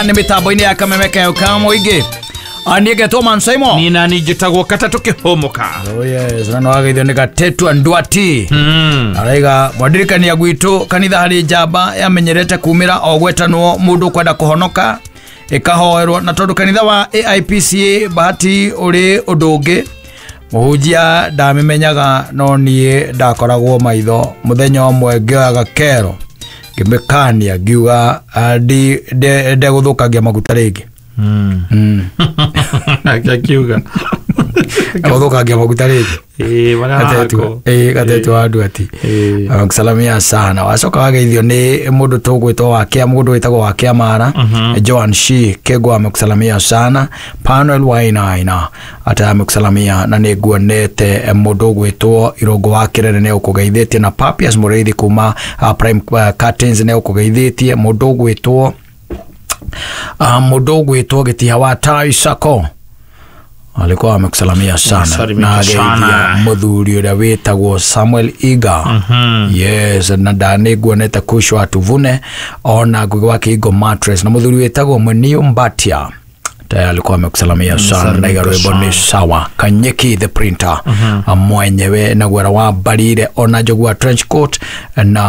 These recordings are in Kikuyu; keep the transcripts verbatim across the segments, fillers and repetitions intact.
Nĩ mĩtambo-inĩ ya Kameme Kayo ka mũingĩ. Niĩ ngetwo Man Simon. Niĩ nani njĩtagwo Katatũ Kĩhũmũka. Oh yes, na no wageithio nĩ Gatetu Ndwati. Araiga mwandirikania gwitũ kanitha harĩ njamba yamenyerete kumĩra o gwetanwo mũndũ ũkwenda kũhonoka ĩkahoerwo, na tondũ kanitha wa A I P C A Bahati ũrĩ ũndũ ũngĩ, mũhunjia ndamĩmenyaga, no niĩ ndakoragwo maitho. Mũthenya ũmwe ngĩoyaga kero ngĩmĩkania, ngiuga ah, ndi- nde- ndegũthũkangia maguta rĩngĩ. Mm. Nake akiuga Egũthũkangia maguta rĩngĩ. Ĩĩ, marĩa Gatetu hako. ĩĩ, Gatetu wa Ndwati. Ĩĩ. Agũsalamia sana. Wacoka wageithio nĩ mũndũ tũgwĩtwo wakĩa, mũndũ wĩtagwo Wakĩa Mara. Joan Shi Kegwa amekusalamia sana. Panuel Wainaina ata amekusalamia, na nĩ nguonete mũndũ ũgwĩtwo Irũngũ wa Kĩrere nĩ ũkũgeithĩtie, na Papias Mũrĩithi kuma uh, Prime uh, Curtains nĩ ũkũgeithĩtie. Mũndũ ũgwĩtwo uh, mũndũ ũgwĩtwo Gĩtiha wa Tai Sako alikuwa amekusalamia sana. Salimika Na ageithia sana. Mũthuri ũrĩa wĩtagwo Samuel Iga. Yes, na ndanĩ nguonete Kushwa Tuvune, ona Ngugi wa Kĩhingo Mattress, na mũthuri wĩtagwo Mwenio Mbatia tayari alikuwa amekusalamia sana, na iga rwĩmbo nĩ sawa. Kanyeki the printer mwenyewe na gwera wa Mbarire, ona Njogu wa trench coat, na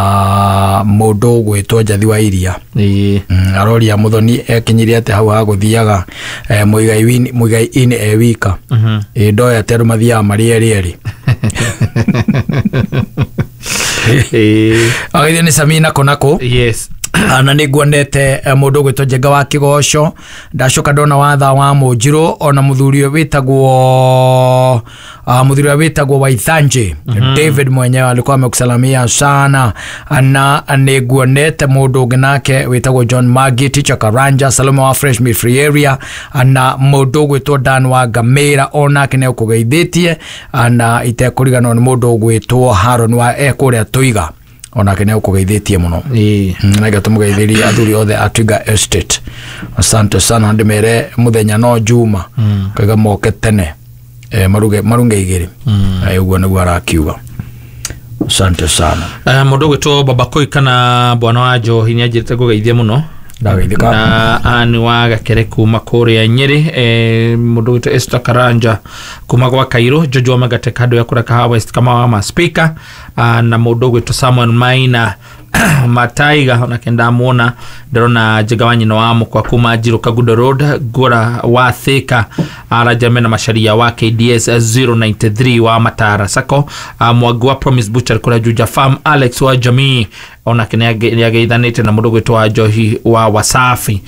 mũndũ ũgwĩtwo Njathi wa Iria. Ĩĩ. Mm, aroria Muthoni ekinyirie atĩ hau hagũthiaga eh, Muigai wini- Muigai ini e wika. Ĩ ndoĩ atĩ andũ mathiaga marĩ erĩ erĩ. Ĩĩ. Agithio nĩ Samina Konako. Yes. Na nĩ nguonete eh, mũndũ ũgwĩtwo Njenga wa Kĩgoco. Ndacoka ndona watha wa Mũnjirũ, ona mũthuri ũyũ wĩtagwo uh, mũthuri ũrĩa wĩtagwo Waithanji David mwenyewe alikuwa amekusalamia sana. Na nĩ nguonete mũndũ ũngĩ nake wĩtagwo John Magi, Teacher Karanja, Salome wa Fresh Meat Free Area, na mũndũ ũgwĩtwo Dan wa Ngamĩra onake nĩ ũkũgeithĩtie, na itekũriganwo nĩ mũndũ ũgwĩtwo Haron wa ekũrĩa Tũiga, onake nĩ ũkũgeithĩtie mũno. Ĩĩ. Naige tũmũgeithĩrie athuri othe a Twiga Estate, asante sana. Ndĩmere mũthenya no Juma kaiga moke tene, eh, maruge marunge igĩrĩ. Eh, ũguo nĩguo arakiuga. Asante sana. Eh, mũndũ ũgwĩtwo Babakoi kana Bwana wa Njohi nĩ anjĩrĩte ngũgeithie mũno. Ndageithĩka. Na ani wa Gakere kuma kũrĩa Nyĩrĩ, eh, mũndũ ũgwĩtwo Esther Karanja kuma gwa Kairũ, Jojo wa Magate kando ya kũrĩa Kahawa West kama wa maspika, ah, na mũndũ ũgwĩtwo Samuel Maina Mataiga onake ndamuona. Ndĩrona Njega wa nyina wa mũkwa kuma Njirũ Kagundo Road, Ngũra wa Thika, Arajame na Macharia wa K D S zero nine three wa Matara Sako, ah, Mwangi wa Promise Butcher kũrĩa Juja Farm, Alex wa Jamii onake nĩ ageithanĩte, na mũndũ ũgwĩtwo wa Njohi wa Wasafi.